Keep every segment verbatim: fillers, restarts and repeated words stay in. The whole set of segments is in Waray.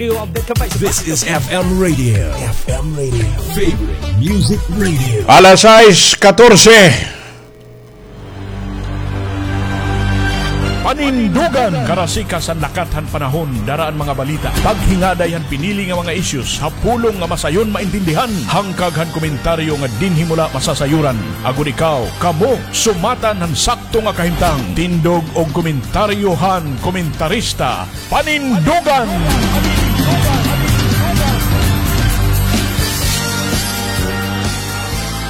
This is F M Radio. F M Radio. Favorite Music Radio. Alas sais katorse. Panindugan, karasikas han lakat han panahon, dara an mga balita, paghingaday han pinili nga mga issues, ha pulong nga masayon maintindihan, hangkag han komentaryo nga dinhi mo la masasayoran. Agod ikaw, kamo, sumatan han sakto nga kahimtang. Tindog og komentaryo han komentarista. Panindugan!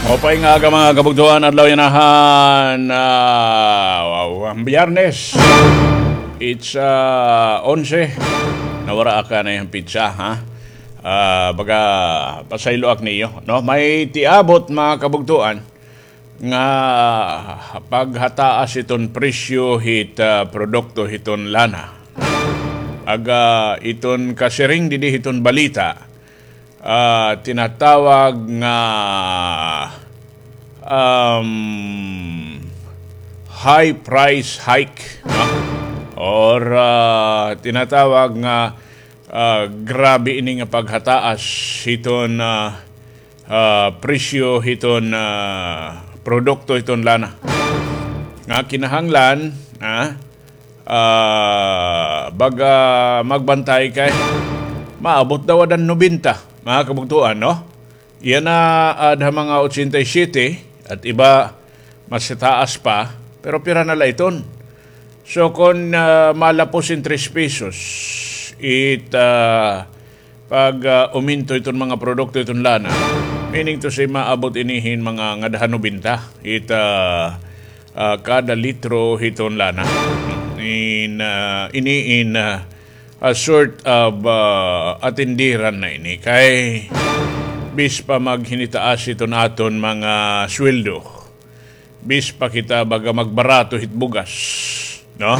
Maupay nga aga, mga kabugtoan, adlaw yana han, ah, wow, han Biyernes. It's, ah, onse. Nawara ak han petsa, ha? Ah, baga, pasaylo ak niyo, no? May tiabot, mga kabugtoan, nga paghataas hiton presyo hit, ah, produkto hiton lana. Aga iton kasiring didi hiton balita, ah, tinatawag nga, um, high price hike, no? Or, ah, tinatawag nga, ah, grabe ini nga paghataas hiton, ah, ah, presyo hiton, ah, produkto hiton lana. Nga kinahanglan, ah, ah, baga magbantay kay maabot daw adan nobenta, mga kabugtoan, no? Yana, ah, ada mga otsenta y siyete at iba mas taas pa, pero pira na la iton. So, kon, ah, malapos in tres pesos, it, ah, pag, ah, uminto iton mga produkto iton lana, meaning to say, maabot ini hin mga ngada han nobenta, it, ah, ah, kada litro hiton lana. In, ah, ini in, ah, a sort of, ah, atindiran na ini kay bis pa maghinitaas iton aton mga sweldo, bis pa kita baga magbarato hit bugas, no?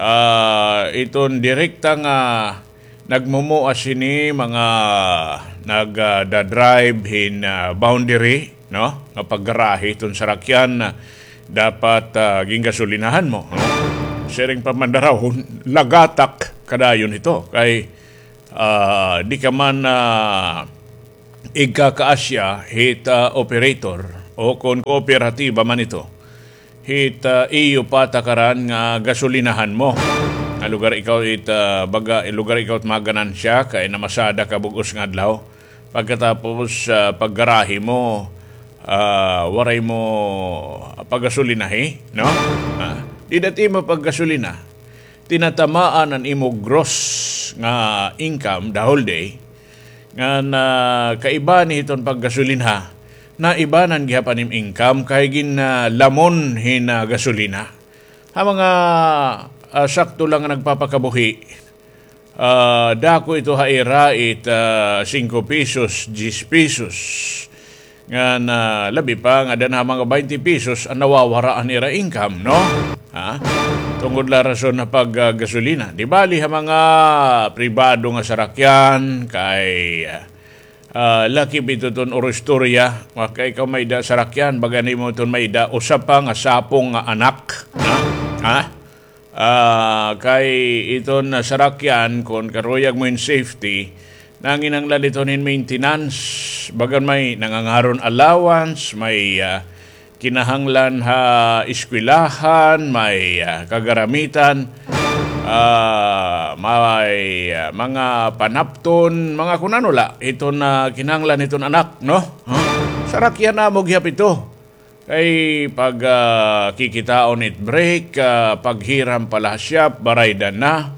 Ah, iton direkta nga nagmumua sini mga nag, ah, da-drive hin, ah, boundary, no? Nga paggarahe iton sarakyan, ah, dapat, ah, gingasolinahan mo, no? Siring pa man daw, lagatak kadayon ito. Kay, ah, di ka man, ah, igkakaasya hit, ah, operator o kon kooperatiba man ito. Hit, ah, iyo patakaran nga gasolinahan mo. Nga lugar ikaw it, ah, baga, lugar ikaw it maganansya kay namasada ka bug-os nga adlaw. Pagkatapos, ah, paggarahe mo, ah, waray mo paggasolinahi, no? Ah, dida it imo paggasolina, tinatamaan an imo gross nga income the whole day, ngan, ah, kaiba ni hiton paggasolina, naibanan gihap an im income kay gin, ah, lamon hin, ah, gasolina. Ha mga, ah, sakto lang nga nagpapakabuhi, ah, dako ito ha ira it, ah, singko pesos, diyes pesos. Ngan, ah, labi pa nga ada na mga baynte pesos an nawawara an ira income, no? Ha? Tungod la rason ha pag, ah, gasolina. Di bali ha mga pribado nga sarakyan, kay, ah, lakip ito ton oro istorya. Kay ikaw may-ada sarakyan, baga nimo ton may-ada usa pa nga sapong nga anak. Ha? Ha? Ah, kay iton sarakyan, kon karuyag mo hin safety, nanginahanglan iton hin maintenance, bagan may nangangaron allowance, may, ah, kinahanglan ha eskwelahan, may, ah, kagaramitan, ah, may, ah, mga panapton, mga kun ano la, iton, ah, kinahanglan iton anak, no? Huh? Sarakyan amo gihap ito. Kay pag, ah, kikitaon it brake, ah, paghiram pa la ha shop, baraydan na.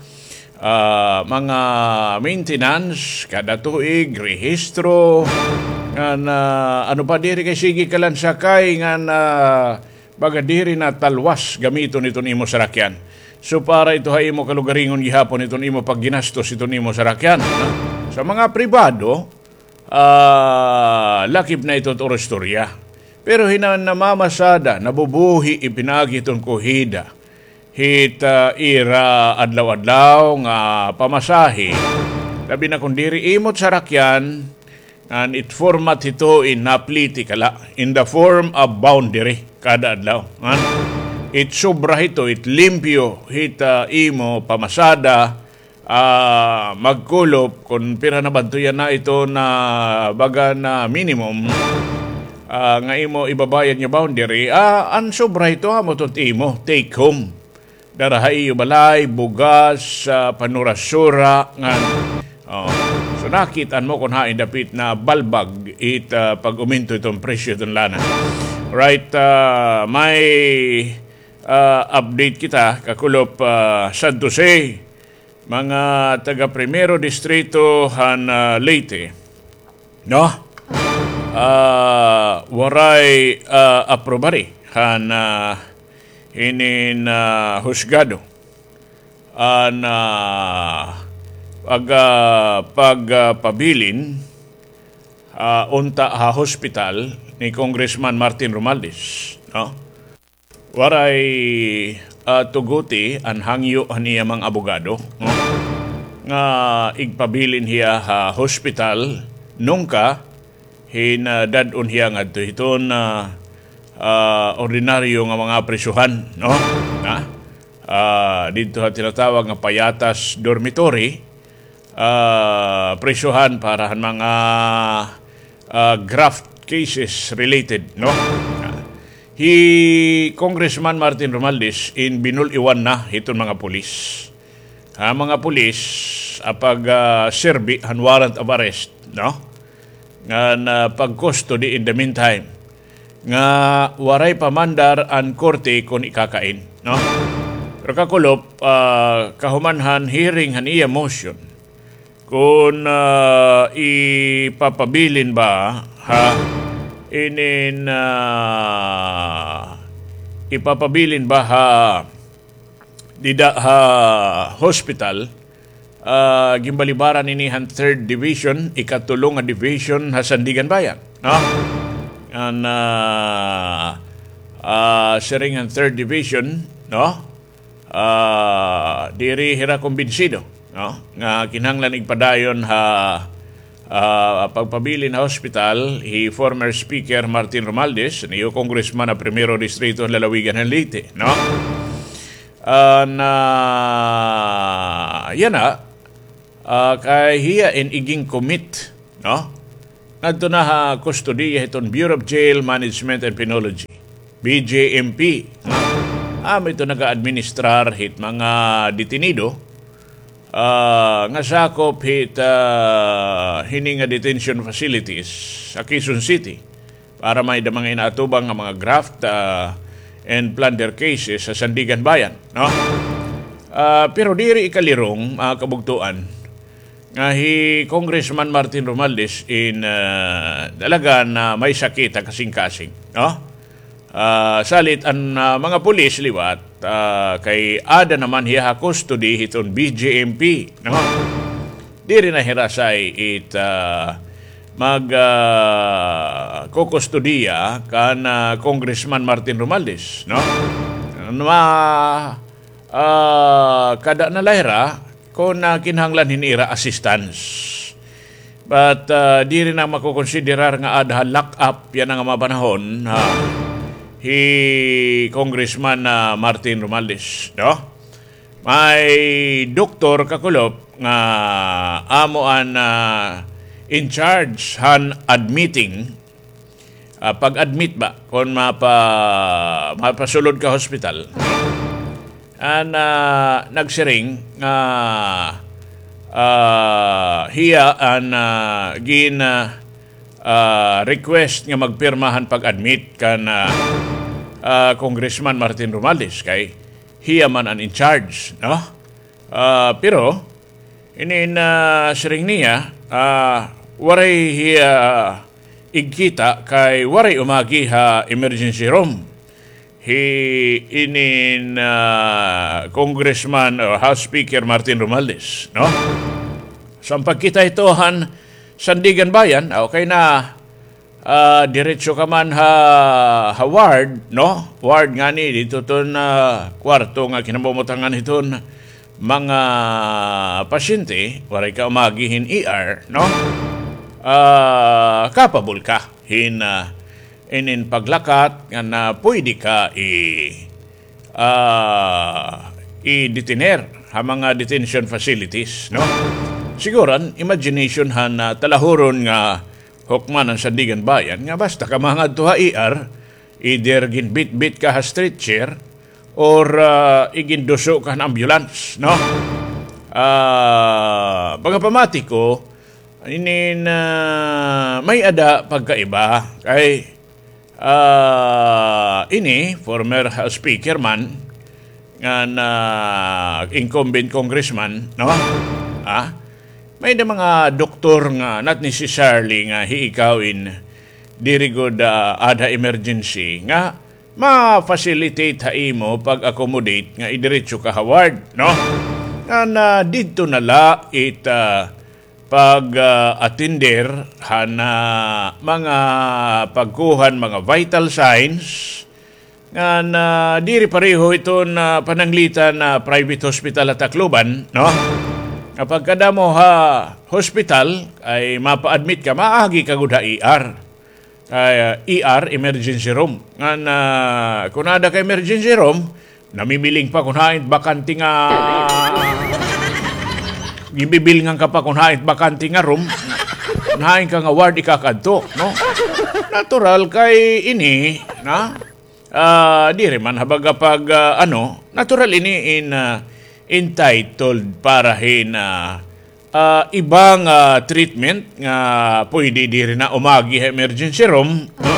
Ah, mga maintenance, kada tuig, rehistro, ngan, ah, ano pa diri kay sige ka lang sakay, ngan, ah, baga diri na talwas gamiton iton imo sarakyan. So para ito ha imo kalugaringon gihapon iton imo pagginastos iton imo sarakyan, no? Sa mga pribado, ah, lakip na ito it oro istorya. Pero hinan namamasada, nabubuhi, ipinaagi iton kuhida hit, ah, ira adlaw-adlaw nga pamasahe. Labi na kon diri imo it sarakyan, ngan it format hito in napliti ka la, in the form of boundary, kada adlaw. Ngan it sobra hito, it limpyo hit, ah, imo pamasada, ah, magkulop kon pira na ba adto yana iton baga nga minimum, ah, nga imo ibabayad nga boundary, ah, an sobra hito amo iton imo take home. Dara ha iyo balay, bugas, ah, panura-sura, ngan, oh, so nakit-an mo kon hain dapit nabalbag it, ah, pag-umento iton presyo iton lana. Right, ah, may, ah, update kita, kakulop, ah, San Jose, mga taga Primero Distrito han, ah, Leyte, no? Ah, waray, ah, aprobari han, ah, hinin, ah, husgado an, ah, pag, ah, pagpabilin, ah, unta ha hospital ni Congressman Martin Romualdez, no? Waray, ah, tuguti an hangyo han iya mga abogado, no? Nga igpabilin hiya ha hospital, nungka hin, ah, dad-on hiya ngadto hiton, ah, ah, ordinaryo nga mga prisohan, no? Na? Ah, didto ha tinatawag nga payatas dormitory, ah, prisohan para han mga, ah, graft cases related, no? Hi Congressman Martin Romualdez in binul-iwan na hiton mga pulis. Ha mga pulis, ah, pag, ah, serbi han warrant of arrest, no? Ngan, ah, pag-custody in the meantime. Nga waray pa mandar an korte kon ikakain, no? Pero kakulop, ah, kahuman han hearing han iya motion, kon, ah, ipapabilin ba ha inin, ah, ipapabilin ba ha dida ha hospital, ah, ginbalibaran ini han Third Division, ikatulo nga division ha Sandiganbayan, no? An, ah, ah, siring han Third Division, no? Ah, diri hira kumbinsido, no? Nga kinahanglan igpadayon ha, ah, pagpabilin ha hospital hi former Speaker Martin Romualdez, an iyo Congressman ha Primero Distrito han lalawigan han Leyte, no? Ah, na, yana, ah, kay hiya in igin-commit, no? Ngadto na ha kustodiya hiton Bureau of Jail Management and Penology, B J M P, no? Amo ito naga-administrar hit mga detenido, ah, nga sakop hit, ah, hini nga detention facilities sa Quezon City para may-ada mga inaatubang nga mga graft, ah, and plunder cases sa Sandiganbayan, no? Ah, pero diri ikalirong, mga kabugtoan, nga hi Congressman Martin Romualdez in, ah, talaga nga may sakit ha kasingkasing, no? Ah, salit an, ah, mga pulis liwat, ah, kay aada naman hiya ha custody hiton B J M P, no? Diri na hira say it, ah, mag, ah, kukustodiya kan, ah, Congressman Martin Romualdez, no? Ma, ah, kada na la hira kon, ah, kinahanglan hin ira assistance. But, ah, diri na makokonsiderar nga aada ha lock-up yana nga mga panahon, ha, hi Congressman, ah, Martin Romualdez, no? May doktor, kakulop, nga amo an, ah, in charge han admitting, ah, pag-admit ba, kon mapa-, mapasulod ka hospital. An, ah, nagsiring nga, ah, hiya an, ah, gin, ah, ah, request nga magpirma han pag-admit kan, ah, ah, Congressman Martin Romualdez kay hiya man an in charge, no? Ah, pero, inin, ah, siring niya, ah, waray hiya igkita kay waray umagi ha emergency room hi inin, ah, Congressman o House Speaker Martin Romualdez, no? So, an pagkita hito han Sandiganbayan, ah, okay na, ah, diretso ka man ha, ha ward, no? Ward ngani, didto ton, ah, kwarto nga kinamumutangan hiton mga pasyente, waray ka umagi hin E R, no? Ah, capable ka hin, ah, inin paglakat ngan pwede ka i-, ah, i-detener ha mga detention facilities, no? Siguro, an imagination han, ah, talahuron nga hukman han Sandiganbayan nga basta ka mangadto ha E R, either ginbitbit ka ha stretcher or, ah, iginduso ka han ambulance, no? Ah, pagkapamati ko, inin, ah, may-ada pagkaiba kay Ah, ini, former, ah, speaker man, ngan incumbent congressman, no? Ah, may-ada mga doktor nga not necessarily nga hi ikaw in diri gud, ah, aada ha emergency nga ma-facilitate ha imo pag-accommodate nga idiretso ka ha ward, no? Ngan, ah, didto na la it, ah, pag, ah, atender han, ah, mga pagkuha han mga vital signs ngan, ah, diri pareho iton, ah, pananglitan ha private hospital ha Tacloban, no? Nga pagkadamo ha hospital ay mapa-admit ka, maagi ka gud ha E R. Ay, ah, E R, emergency room. Ngan, ah, kun aada ka emergency room, namimiling pa kun hain bakante nga, ginbibilngan ka pa kun hain bakante nga room, kun hain ka nga ward ikakadto, no? Natural kay ini, na? Ah, diri man ha baga pag, ah, ano, natural ini in, ah, entitled para hin, ah, ah, iba nga treatment nga pwede diri na umagi ha emergency room, no?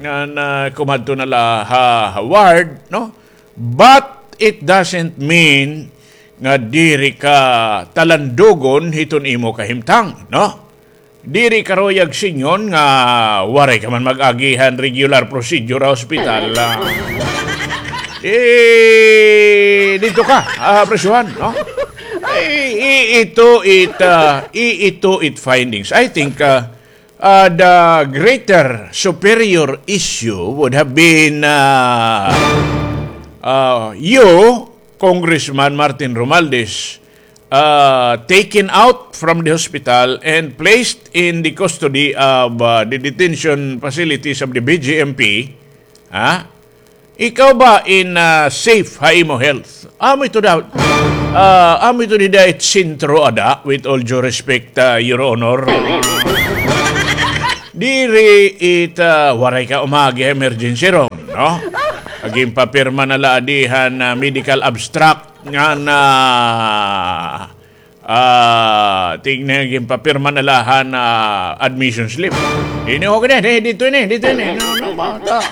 Nga na kumadto na la ha, ha ward, no? But it doesn't mean nga diri ka talandugon hiton imo kahimtang, no? Diri ka ruyag singon nga waray ka man mag-agi han regular procedure ha ospital, ah. Eh, didto ka, ah, presyuhan, no? Ay, i-, ito it, ah, i-, ito it findings. I think, ah, ah, the greater superior issue would have been, ah, ah, you, Congressman Martin Romualdez, ah, taken out from the hospital and placed in the custody of, ah, the detention facilities of the B J M P, ha? Ikaw ba in, ah, safe ha imo health? Amo ito daw, ah, amo ito dida it sentro ada, with all due respect, ah, Your Honor. Diri it, ah, waray ka umagi ha emergency room, no? Ginpapirma na la adi han, ah, medical abstract nga na, ah, tingnan, ginpapirma na la han, ah, admission slip. Ini, okay na, eh, dito ini, dito ini. No, no, bata.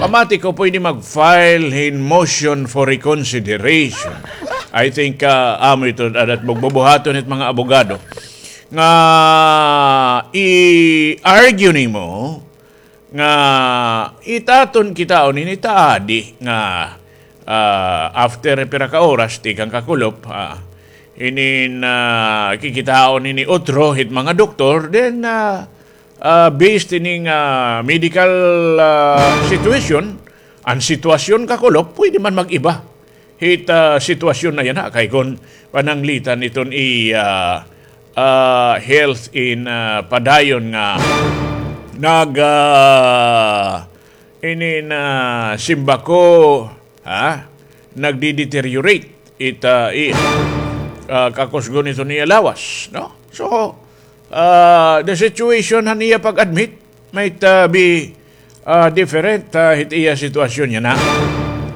Pamati ko, pwede mag-file hin motion for reconsideration. I think, ah, amo ito, adat bugbubuhaton it mga abogado. Nga i-argue nimo, nga itaton kitaon ini ta adi nga, ah, after pira ka oras tikang kakulop, ah, inin, ah, kikitaon ini utro hit mga doktor, then, ah, ah, based ini nga medical, ah, situation, an sitwasyon kakulop, pwede man mag-iba. Hit, ah, sitwasyon na yana, kay kon pananglitan iton iya, ah, health in, ah, padayon nga nag, ah, inin, ah, simbako, ha? Nagdi-deteriorate it, ah, i-, ah, kakusgon iton iya lawas, no? So, ah, the situation han iya pag-admit, might, ah, be, ah, different, ah, hit iya sitwasyon yana.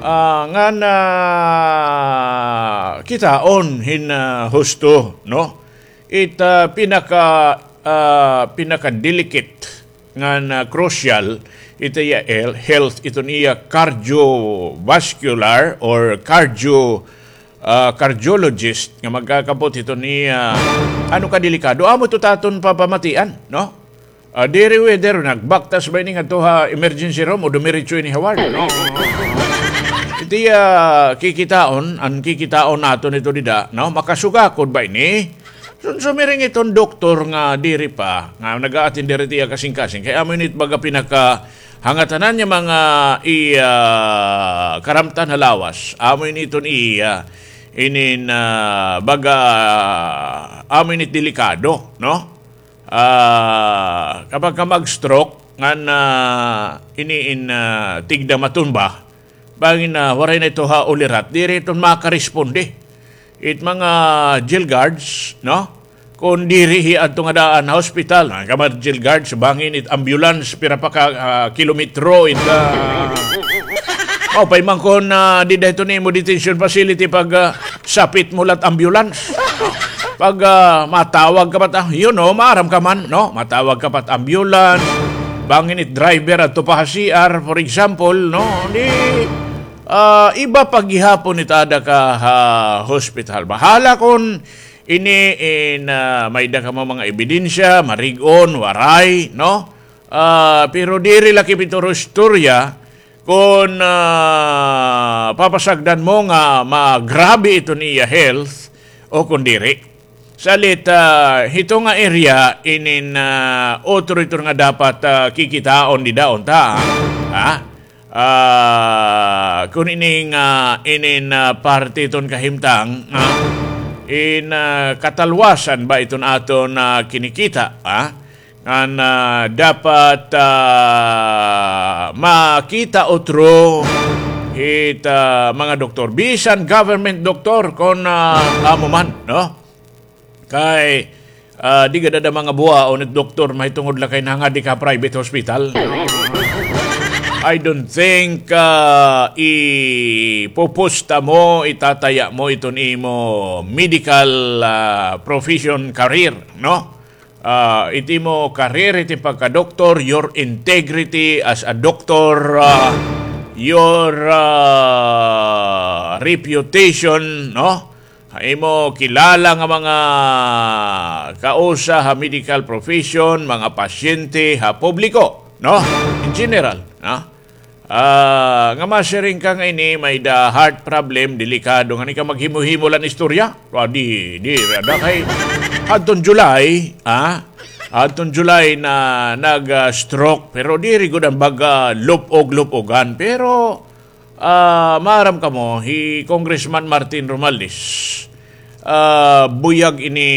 Ah, ngan, ah, kitaon hin, ah, husto, no? It, ah, pinaka, ah, pinaka-delicate ngan, ah, crucial it iya el-, health, iton iya cardiovascular or cardio, ah, cardiologist nga magkakapot hiton iya, ano, kadelikado. Amo ito taton papamatian, no? Ah, diri whether nagbaktas ba ini ngadto ha emergency room o dumiretso ini ha ward, no? Iti, ah, kikitaon, an kikitaon naton ito dida, no? Makasugakod ba ini? Sun-, sumiring iton doktor nga diri pa, nga nag-a-attend diri tiya kasingkasing. Kay amo ini it baga pinakahangatanan niya mga i-, ah, karamtan ha lawas. Amo ini iton iya, inin, ah, baga, amo ini it delikado, no? Ah, kapag ka mag-stroke, ngan, ah, ini in, ah, tigda matumba, Bangin na waray na ito ha ulirat, diri iton makaresponde it mga jail guards, no? Kon diri hi adto nga daan ha hospital, na ka mga jail guards, bangin it ambulance, pira pa ka, ah, kilometro it, ah, o, pay man kon, ah, dida ito nimo detention facility pag, ah, sapit mo lat ambulance. Pag, ah, matawag ka pa ta, you know, maaram ka man, no? Matawag ka pa ambulance, bangin it driver adto pa ha C R, for example, no? Di, ah, iba pa gihapon it ada ka ha hospital. Bahala kon ini in, ah, may da ka mga ebidensya, marig-on, waray, no? Ah, pero diri la kipituro istorya kon, ah, papasagdan mo nga magrabe iton iya health o kon diri. Salit, ah, hito nga area inin, ah, otro ito nga dapat, ah, kikitaon dida unta, ha? Ah, kon ini nga inin, ah, parte iton kahimtang, ha? In, ah, katalwasan ba iton aton, ah, kinikita, ha? Ngan, ah, dapat, ah, makita otro hit, ah, mga doktor. Bisan government doktor kon, ah, amo man, no? Kay, ah, di gad ada mga buwaon it doktor mahitungod la kay nangadi ka private hospital. I don't think, ah, ipupusta mo, itataya mo iton imo medical, ah, profession career, no? Ah, it imo career, it im pagka-doktor, your integrity as a doctor, ah, your, ah, reputation, no? Ha imo kilala nga mga kausa ha medical profession, mga pasyente ha publiko, no? In general, no? Ah, nga masiring ka nga ini may da heart problem, delikado nga ni ka maghimo-himo lan istorya. Ah, di, di, ada kay hadton July, ah, hadton July na nag, ah, stroke, pero diri gud an baga lupog-lupogan. Pero, ah, maaram kamo, hi Congressman Martin Romualdez, ah, buyag ini,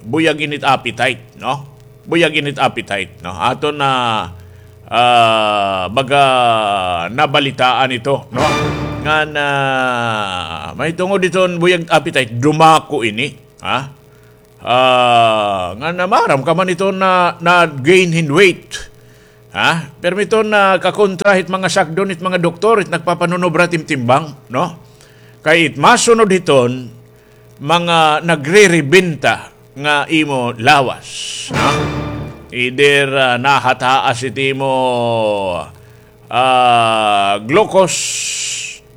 buyag init appetite, no? Buyag init appetite, no? Aton na, ah, baga nabalitaan ito, no? Ngan, ah, mahitungod iton buyag appetite, dumako ini, ha? Ah, ngan maaram ka man iton na, na-gain hin weight, ha? Pero iton na kakontra hit mga sagdon, hit mga doktor, it nagpapanunobra it im timbang, no? Kay it masunod hiton, mga nagrerebenta nga imo lawas, no? Either, ah, nahataas it imo, ah, glucose,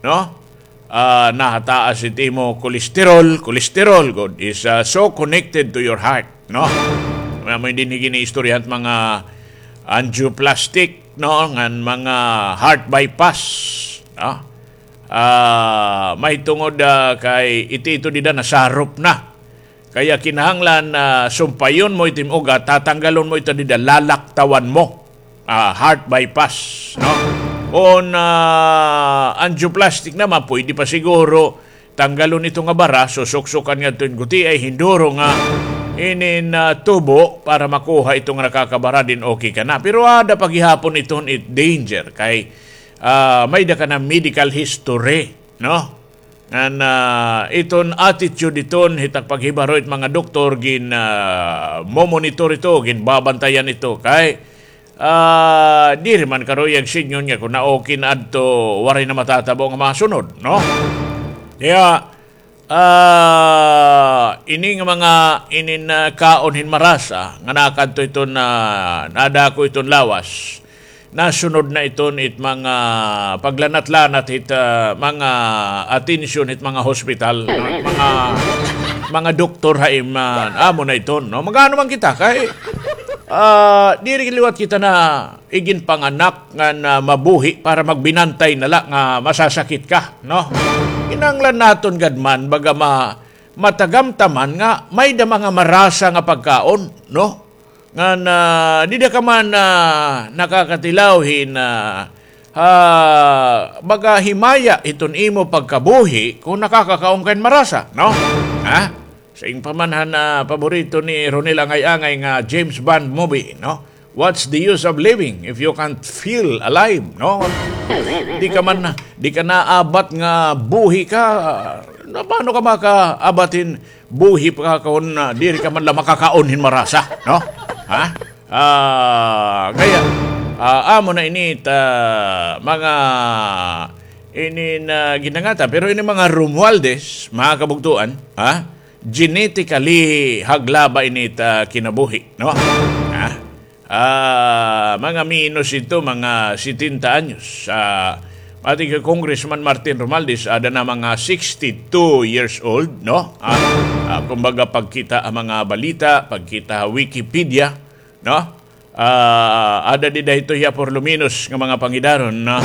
no? Ah, nahataas it imo cholesterol, cholesterol gud is, ah, so connected to your heart, no? Amo dinhi gin-iistoryahan it mga angioplastic, no? Ngan mga heart bypass, no? Ah, mahitungod, ah, kay iti ito dida nasarop na. Kaya kinahanglan, ah, sumpayon mo it im ugat, tatanggalon mo ito dida, lalaktawan mo. Ah, heart bypass, no? Kon, ah, angioplastic naman, pwede pa siguro tanggalon ito nga bara, susuksukan ngadto hin gutiay, hinduro nga inin, ah, tubo para makuha ito nga nakakabara, then okay ka na. Pero ada pa gihapon iton it danger kay, ah, may da ka na medical history, no? Ngan, ah, iton attitude iton hit ak paghibaro it mga doktor gin, ah, momonitor ito, ginbabantayan ito kay, ah, diri man karuyag sidngon nga kon na-okay na adto, waray na matatabo nga masunod, no? Kaya, ah, ini nga mga inin, ah, kaon hin marasa nga nakadto iton, ah, nadako iton lawas, nasunod na iton it mga paglanat-lanat hit, ah, mga atensyon hit mga hospital, mga, mga doktor ha im, ah, amo na iton, no? Mag-ano man kita kay, ah, diri liwat kita na iginpanganak ngan mabuhi para magbinantay na la nga masasakit ka, no? Kinahanglan naton gad man baga ma-, matagamtaman nga may da mga marasa nga pagkaon, no? Ngan, ah, dida ka man, ah, nakakatilaw hin, ah, ah, baga himaya iton imo pagkabuhi kon nakakakaon ka hin marasa, no? Ha? Siring pa man han, ah, paborito ni Ronel Angay-angay nga James Bond movie, no? What's the use of living if you can't feel alive, no? Di ka man, di ka naabat nga buhi ka. Na, paano ka makaabat hin buhi pa ka kon, ah, diri ka man la makakaon hin marasa, no? Ha? Ah, kaya, ah, amo na ini it, ah, mga ini nga ginangata, pero ini mga Romualdez, mga kabugtoan, ha? Genetically haglaba ini it, ah, kinabuhi, no? Ha? Ah, mga minus ito, mga setenta anyos. Ah, pati kay Congressman Martin Romualdez, ada na mga sixty-two years old, no? Ah, ah, kumbaga, pagkita ha mga balita, pagkita ha Wikipedia, no? Ah, ada dida hito hiya por lo menos nga mga pangidaron na,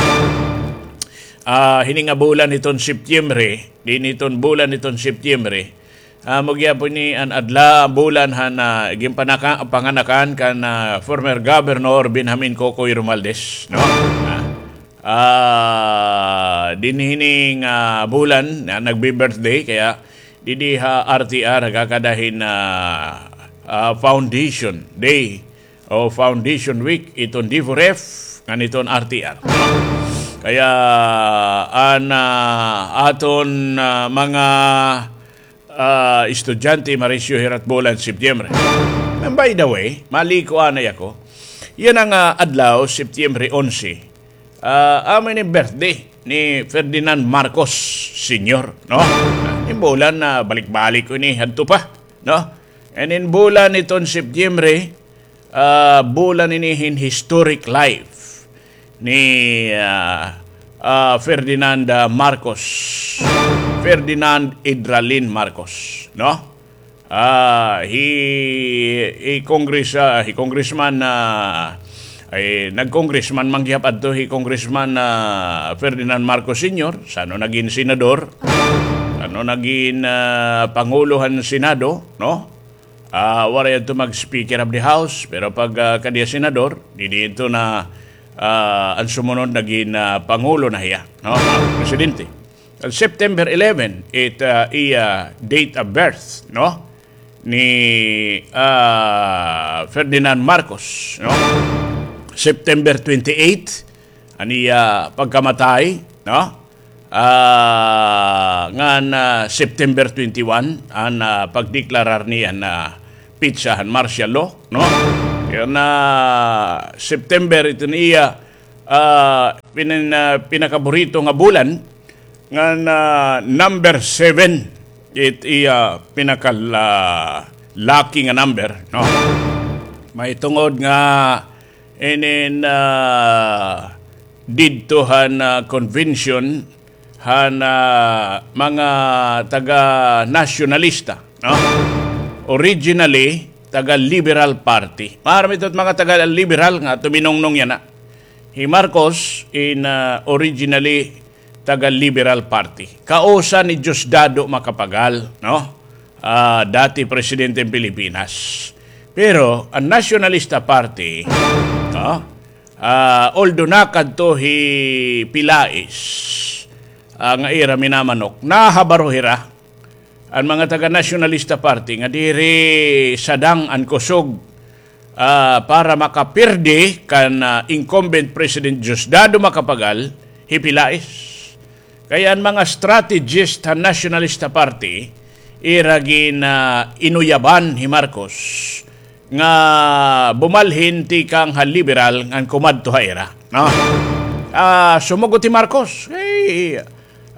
ah, hini nga bulan hiton Setyembre, dinhi hiton bulan hiton Setyembre, ah, amo gihapon ini an adlaw, bulan han, ah, ginpanaka-, panganakan kan, ah, former Governor Benjamin Cocoy Romualdez, no? Ah, ah, dinhi hini nga bulan na nagbi-birthday, kaya didi ha R T R nagkakada hin, ah, ah, Foundation Day o Foundation Week iton D four F ngan iton R T R. Kaya an, ah, aton, ah, mga, ah, estudyante marisyo hira it bulan Setyembre. And by the way, maliko anay ako. Yana nga adlaw, Setyembre onse, ah, amo ini birthday ni Ferdinand Marcos Senior, no? Hin bulan na balik-balik ko ini hadto pa, no? And in bulan iton Setyembre, ah, bulan ini hin historic life ni, ah, ah, Ferdinand, ah, Marcos, Ferdinand Idralin Marcos, no? Ah, hi, hi Congress, ah, hi Congressman, ah, ay, nag-congressman man gihap adto hi Congressman, ah, Ferdinand Marcos Senior, san-o nagin senador, san-o nagin, ah, pangulo han Senado, no? Ah, waray adto mag-Speaker of the House, pero pag, ah, kadi ha senador, didi adto na, ah, an sumunod nagin, ah, pangulo na hiya, no? Presidente. September eleven, it, ah, iya date of birth, no? Ni, ah, Ferdinand Marcos, no? September twenty-eight, an iya pagkamatay, no? Ah, ngan, ah, September twenty-one, an, ah, pagdeklarar niya an, ah, petsa han martial law, no? Kaya na September, ito niya, ah, pinin-, ah, pinakaburito nga bulan, ngan, ah, number seven, it iya pinakal-, ah, lucky nga number, no? Mahitungod nga inin, ah, didto han, ah, convention han, ah, mga taga-nasyonalista, no? Originally, taga-Liberal Party. Maaram ito it mga taga-Liberal nga tuminungnong yana. Hi Marcos in, ah, originally taga-Liberal Party. Kausa ni Diosdado Macapagal, no? Ah, dati presidente hin Pilipinas. Pero an Nationalista Party, no? Ah, although nakadto hi Pilais, ah, nga ira minamanok, nahabaro hira an mga taga-Nationalista Party nga diri sadang an kusog, ah, para makapirdi kan, ah, incumbent President Diosdado Macapagal, hi Pilais. Kaya an mga strategist han Nationalista Party, ira gin, ah, inuyaban hi Marcos nga bumalhin tikang ha Liberal ngan kumadto ha ira, no? Ah, sumugot hi Marcos, kay,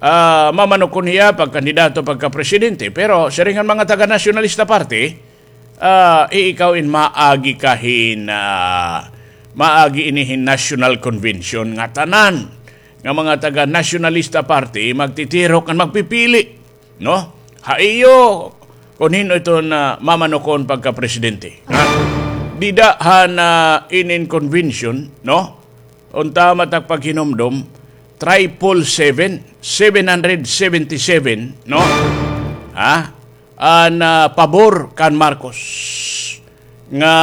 ah, mamanukon hiya pagkandidato pagkapresidente. Pero siring han mga taga-Nationalista Party, ah, i-, ikaw in maagi ka hin, ah, maagi ini hin National Convention nga tanan nga mga taga-Nationalista Party magtitirok ngan magpipili, no? Ha iyo, kon hin-o iton mamanukon pagkapresidente. Ha? Dida han, ah, inin convention, no? Unta man it ak paghinumdom, triple seven, seven hundred seventy-seven, no? Ha? An, ah, pabor kan Marcos nga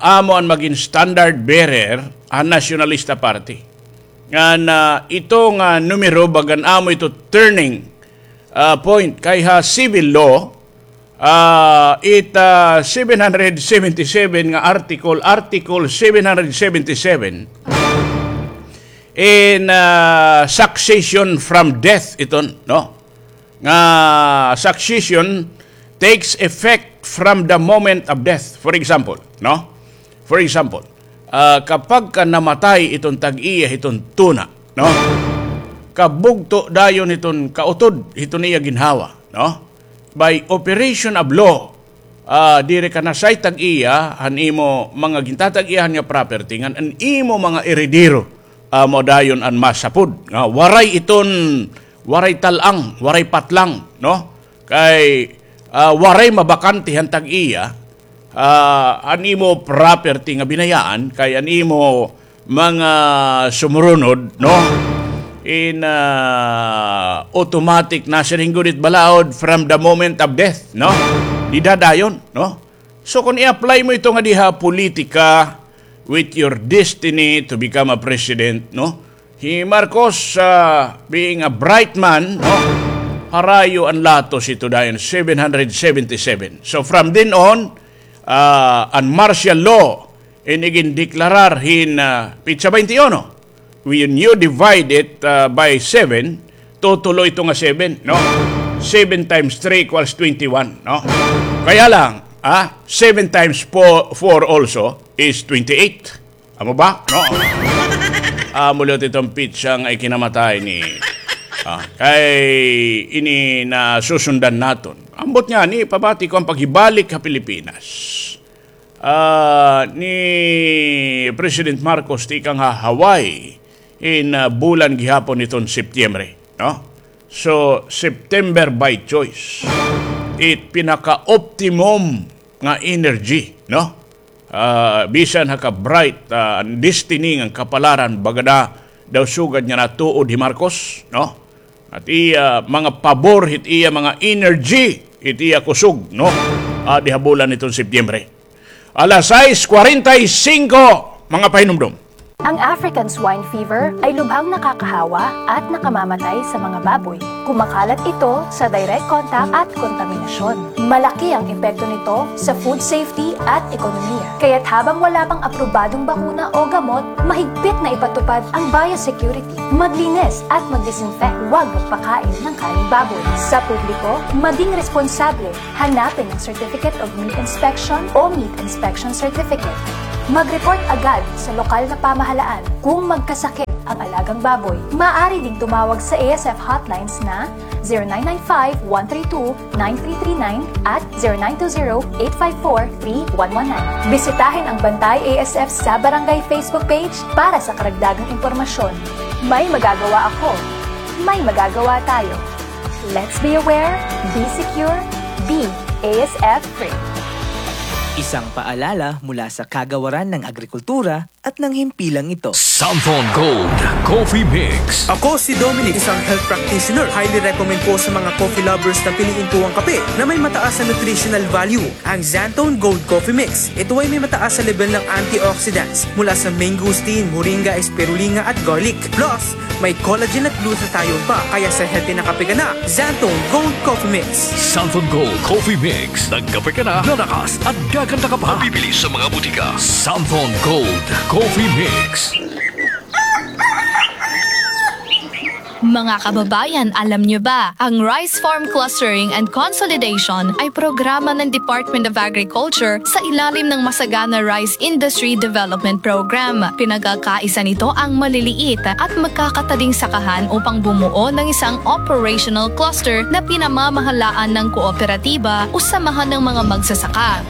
amo an magin standard bearer han Nationalista Party. Ngan, ah, ito nga numero, bagan amo ito turning, ah, point kay ha civil law, ah, it, ah, seven hundred seventy-seven nga article, Article seven hundred seventy-seven, in, ah, succession from death iton, no? Nga succession takes effect from the moment of death. For example, no? For example, ah, kapag ka namatay iton tag-iya hiton tuna, no? Kabugto dayon hiton kautod hiton iya ginhawa, no? By operation of law, ah, diri ka na say tag-iya han imo mga gintatag-iyahan nga property ngan an imo mga eredero, ah, mao dayon an masapod nga waray iton, waray tal-ang, waray patlang, no? Kay, ah, waray mabakante han tag-iya, ah, an imo property nga binayaan, kay an imo mga sumurunod, no? In, ah, automatic na siring gud it balaod from the moment of death, no? Dida dayon, no? So, kung i-apply mo ito nga diha politika with your destiny to become a president, no? Hi Marcos, ah, being a bright man, no? Harayo an latos ito dayon, seven hundred seventy-seven. So, from then on, ah, an martial law in igindeklarar hin, ah, pitsa twenty-one. When you divide it, ah, by seven, tutulo ito nga seven, no? Seven times three equals twenty-one, no? Kaya lang, ah, seven times four, four also is twenty-eight. Amo ba? No? Amo liwat iton pitsa nga ikinamatay ni, ah, kay ini nasusundan naton. Ambot ngani, pabati ko an paghibalik ha Pilipinas ah, ni President Marcos tikang ha Hawaii in, ah, bulan gihapon hiton Setyembre, no? So, September by choice. It pinaka-optimum nga energy, no? Ah, bisan ha ka-bright, ah, destiny ngan kapalaran, baga na daw sugad nga natuod hi Marcos, no? At iya mga pabor, hit iya mga energy, hit iya kusog, no? Ah, diha bulan hiton Setyembre. Alas sais kwarenta y singko, mga pahinumdom. Ang African Swine Fever ay lubhang nakakahawa at nakamamatay sa mga baboy. Kumakalat ito sa direct contact at kontaminasyon. Malaki ang epekto nito sa food safety at ekonomiya. Kaya't habang wala pang aprobadong bakuna o gamot, mahigpit na ipatupad ang biosecurity. Maglinis at magdisinfect. Huwag magpakain ng karneng baboy. Sa publiko, maging responsable. Hanapin ang Certificate of Meat Inspection o Meat Inspection Certificate. Mag-report agad sa lokal na pamahalaan kung magkasakit ang alagang baboy. Maaari ding tumawag sa A S F hotlines na zero nine nine five, one three two, nine three three nine at zero nine two zero, eight five four, three one one nine. Bisitahin ang Bantay A S F sa Barangay Facebook page para sa karagdagang impormasyon. May magagawa ako. May magagawa tayo. Let's be aware, be secure, be A S F free. Isang paalala mula sa Kagawaran ng Agrikultura at ng himpilang ito. Santhon Gold Coffee Mix. Ako si Dominic, isang health practitioner. Highly recommend ko sa mga coffee lovers na piliin ko ang kape na may mataas na nutritional value, ang Xanthone Gold Coffee Mix. Ito ay may mataas na level ng antioxidants mula sa mangosteen, moringa, spirulina at garlic. Plus, may collagen at glutathione pa, kaya sa healthy na kape ka na, Xanthone Gold Coffee Mix. Santhon Gold Coffee Mix. Nagkape ka na, lalakas at gaganda ka pa. Mabibili sa mga butika. Santhon Gold Coffee Mix. Mga kababayan, alam niyo ba, ang Rice Farm Clustering and Consolidation ay programa ng Department of Agriculture sa ilalim ng Masagana Rice Industry Development Program. Pinagkakaisa nito ang maliliit at magkakatading sakahan upang bumuo ng isang operational cluster na pinamamahalaan ng kooperatiba o samahan ng mga magsasaka.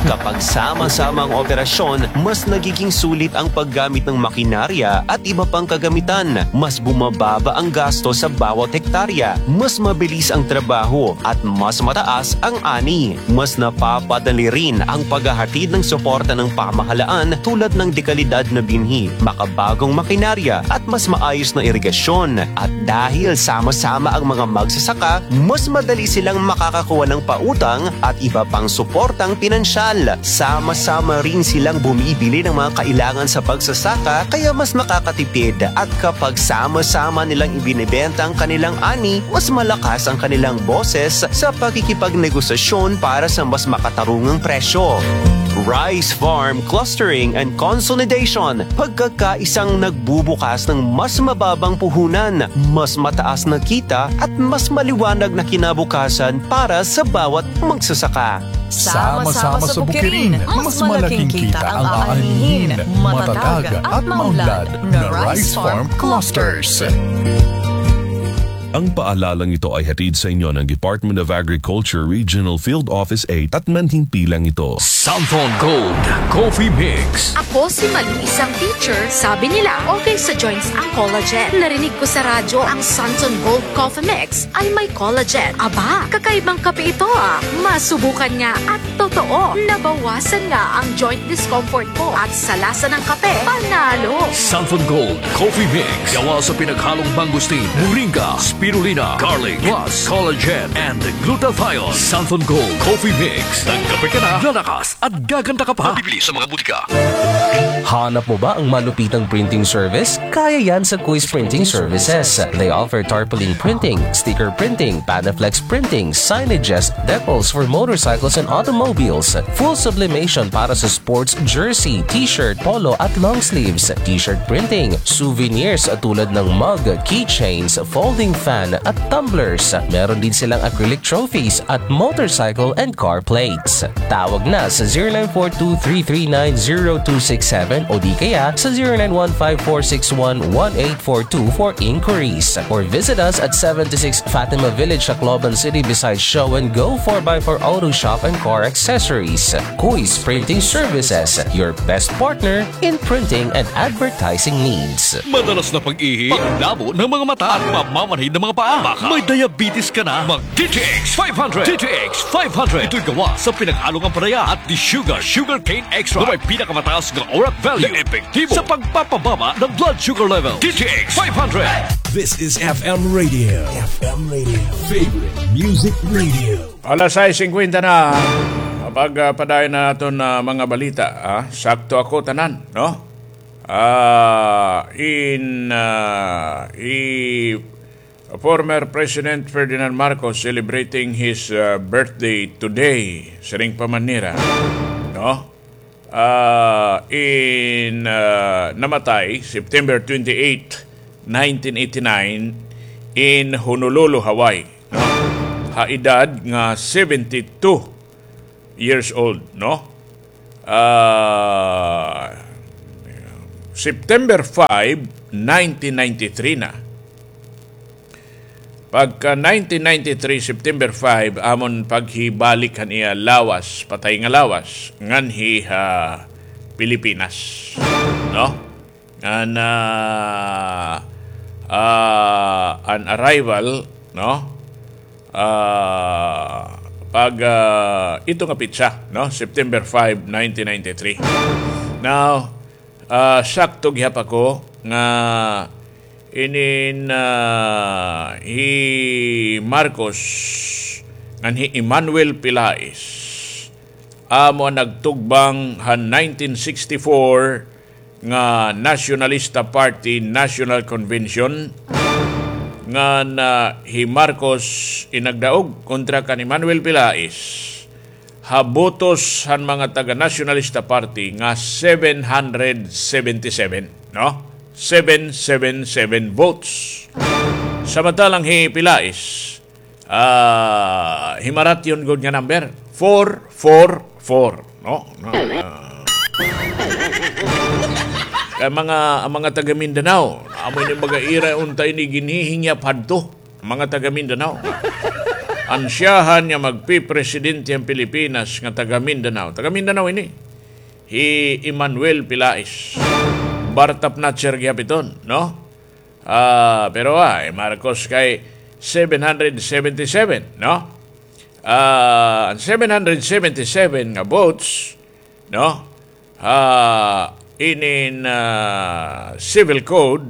Kapag sama-sama ang operasyon, mas nagiging sulit ang paggamit ng makinarya at iba pang kagamitan. Mas bumababa ang gasto sa bawat hektarya. Mas mabilis ang trabaho at mas mataas ang ani. Mas napapadali rin ang paghahatid ng suporta ng pamahalaan tulad ng dekalidad na binhi, makabagong makinarya at mas maayos na irigasyon. At dahil sama-sama ang mga magsasaka, mas madali silang makakakuha ng pautang at iba pang suportang pinansyal. Sama-sama rin silang bumibili ng mga kailangan sa pagsasaka, kaya mas makakatipid. At kapag sama-sama nilang ibinebenta ang kanilang ani, mas malakas ang kanilang boses sa pakikipagnegosasyon para sa mas makatarungang presyo. Rice Farm Clustering and Consolidation, pagkakaisang nagbubukas ng mas mababang puhunan, mas mataas na kita at mas maliwanag na kinabukasan para sa bawat magsasaka. Sama-sama sa bukirin, mas malaking kita ang aanihin. Matatag at maunlad na Rice Farm Clusters. Ang paalalang ito ay hatid sa inyo ng Department of Agriculture Regional Field Office eight at manhimpilang ito. Santon Gold Coffee Mix. Ako si Malu, isang teacher. Sabi nila, okay sa joints ang collagen. Narinig ko sa radyo ang Santon Gold Coffee Mix ay may collagen. Aba, kakaibang kape ito ah. Masubukan nga at totoo, nabawasan nga ang joint discomfort ko at sa lasa ng kape, panalo! Santon Gold Coffee Mix. Gawa sa pinaghalong mangosteen, moringa, spirulina, garlic, plus collagen and glutathione. Santon Gold Coffee Mix. Nagkape ka na, lalakas at gaganda ka pa. Mabibili sa mga butika. Hanap mo ba ang malupitang printing service? Kaya yan sa Kuis Printing Services. They offer tarpaulin printing, sticker printing, Panaflex printing, signages, decals for motorcycles and automobiles, full sublimation para sa sports jersey, t-shirt, polo at long sleeves, t-shirt printing, souvenirs tulad ng mug, keychains, folding fan at tumblers. Meron din silang acrylic trophies at motorcycle and car plates. Tawag na sa zero nine four two three three nine zero two six seven o di kaya sa zero nine one five four six one one eight four two for inquiries. Or visit us at seventy-six Fatima Village, Tacloban City, beside Show and Go four by four Auto Shop and Car Accessories. Kuis Printing Services, your best partner in printing and advertising needs. Madalas na pag-ihi, paglabo ng mga mata, at pamamanhid ng mga paa. Baka may diabetes ka na. Mag D T X five hundred. D T X five hundred. Ito'y gawa sa pinaghalong ampalaya at desugared sugarcane extract na may pinakamataas nga ORAC value na epektibo sa pagpapababa ng blood sugar level. D T X five hundred. This is F M Radio. F M Radio. Favorite Music Radio. Alas sais singkwenta na. Pagpadayon na naton, ah, mga balita, ah. Sakto ako tanan, no? Ah, in, ah, i-, former President Ferdinand Marcos celebrating his, ah, birthday today. Siring pa man nira, no? Ah, in, ah, namatay September twenty-eight, nineteen eighty-nine, in Honolulu, Hawaii, no? Ha edad nga seventy-two years old, no? Ah, September five, nineteen ninety-three na. Pagka nineteen ninety-three, September five, amon paghibalik han iya lawas, patay nga lawas, nganhi ha Pilipinas, no? Ngan, ah, ah, an arrival, no? Ah, pag, ah, ito nga petsa, no? September five, nineteen ninety-three. Now, ah, sakto gihap ako nga inin, ah, hi Marcos ngan hi Emmanuel Pilais amo an nagtugbang han nineteen sixty-four nga Nationalista Party National Convention, ngan hi Marcos in nagdaog kontra kan Emmanuel Pilais ha botos han mga taga Nationalista Party nga seven hundred seventy-seven, no? Seven seven seven votes. Samantalang hi Pilais, ah, himaratyon gud nga number, four four four, no? No, ah. Kay mga, ang mga taga Mindanao, amo ini baga ira unta ini ginhihingyap hadto, ang mga taga Mindanao. Ansyahan nga magpipresidente han Pilipinas nga taga Mindanao. Taga Mindanao ini. Hi Emmanuel Pilais. Bartap na gihap iton, no? Ah, pero, ah, hi Marcos kay seven hundred seventy-seven, no? Ah, an seven hundred seventy-seven nga votes, no? Ah, inin, ah, Civil Code,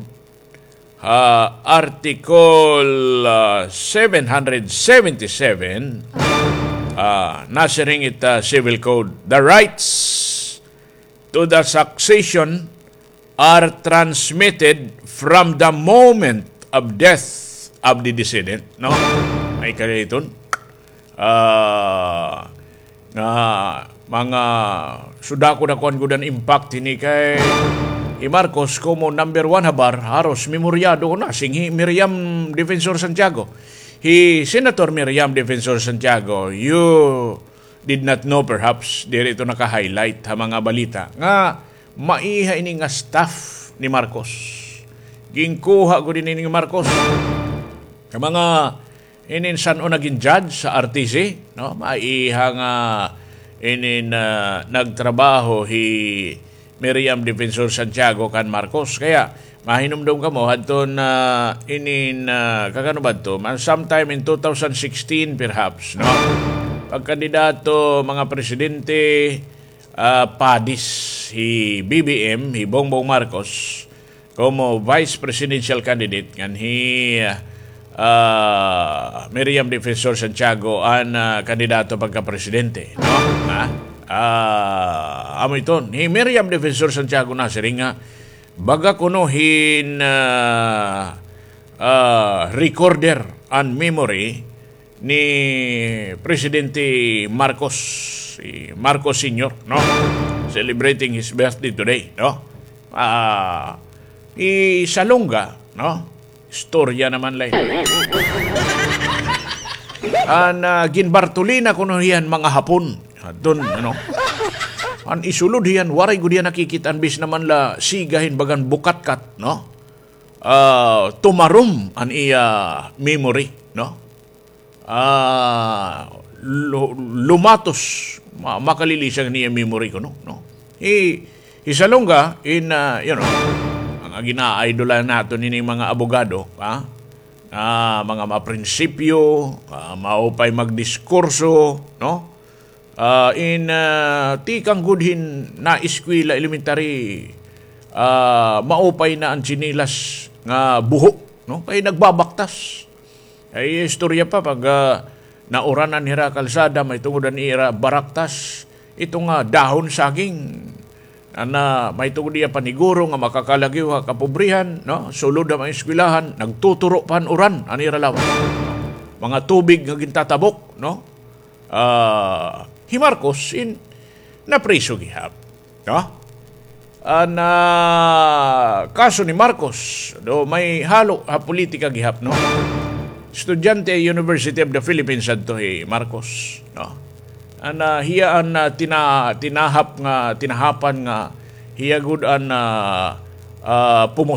ah, Article, ah, seven hundred seventy-seven, ah, nasiring it, ah, Civil Code, the rights to the succession are transmitted from the moment of death of the decedent, no? May kaliton. Ah, nga Mga sudako-dakuan gud an impact hini kay hi Marcos komo number one habar, haros memoryado ko na, sing hi Miriam Defensor Santiago. Hi Senator Miriam Defensor Santiago, you did not know perhaps, diri ito naka-highlight ha mga balita, nga maiha ini nga staff ni Marcos. Ginkuha gud ini ni Marcos. Ka mga inin san-o nagin judge sa R T C, no? Maiha nga inin, ah, nagtrabaho hi Miriam Defensor Santiago kan Marcos. Kaya mahinumdom kamo hadton, ah, inin, ah, kakano ba to? Ma-, sometime in two thousand sixteen perhaps, no? Pagkandidato mga presidente, ah, padis hi B B M, hi Bongbong Marcos, komo vice presidential candidate ngan hi, ah, Miriam Defensor Santiago an, ah, kandidato pagkapresidente, no? Ha? Ah, amo iton. Hi Miriam Defensor Santiago nasiring nga baga kuno hin, ah, ah, recorder an memory ni Presidente Marcos, si Marcos Senior, no? Celebrating his birthday today, no? Ah, hi Salonga, no? Istorya naman la. An, ah, ginbartolina kuno hiya han mga Hapon. Adton, ano? An isulod hiya, waray gud hiya nakikit-an bis naman la siga hin bagan bukatkat, no? Ah, tumarom an iya memory, no? Ah, lu-, lumatos, ma-, makalilisang niya memory kuno, no? Hi, hi Salonga in, ah, you know, mga gina-idol naton ini mga abogado, ha? Ah, mga maprinsipyo, ah, maupay magdiskurso, no? Ah, in, ah, tikang gud hin naeskwela elementary, ah, maupay na an tsinelas nga buho, no? Kay nagbabaktas. Ay, istorya pa, pag, ah, nauranan hira kalsada, mahitungod an ira baraktas, ito nga dahon saging. Ana, mahitungod iya paniguro nga makakalagiw ha kapobrihan, no? Sulod ha mga eskwelahan, nagtuturo pa han uran, an ira lawas. Mga tubig nga gintatabok, no? Ah, hi Marcos, in, napriso gihap. No? An, ah, kaso ni Marcos, do may halo ha politika gihap, no? Estudyante University of the Philippines adto hi Marcos, no? An, ah, hiya an, ah, tina-, tinahap nga, tinahapan nga hiya gud an, ah, ah, pumo-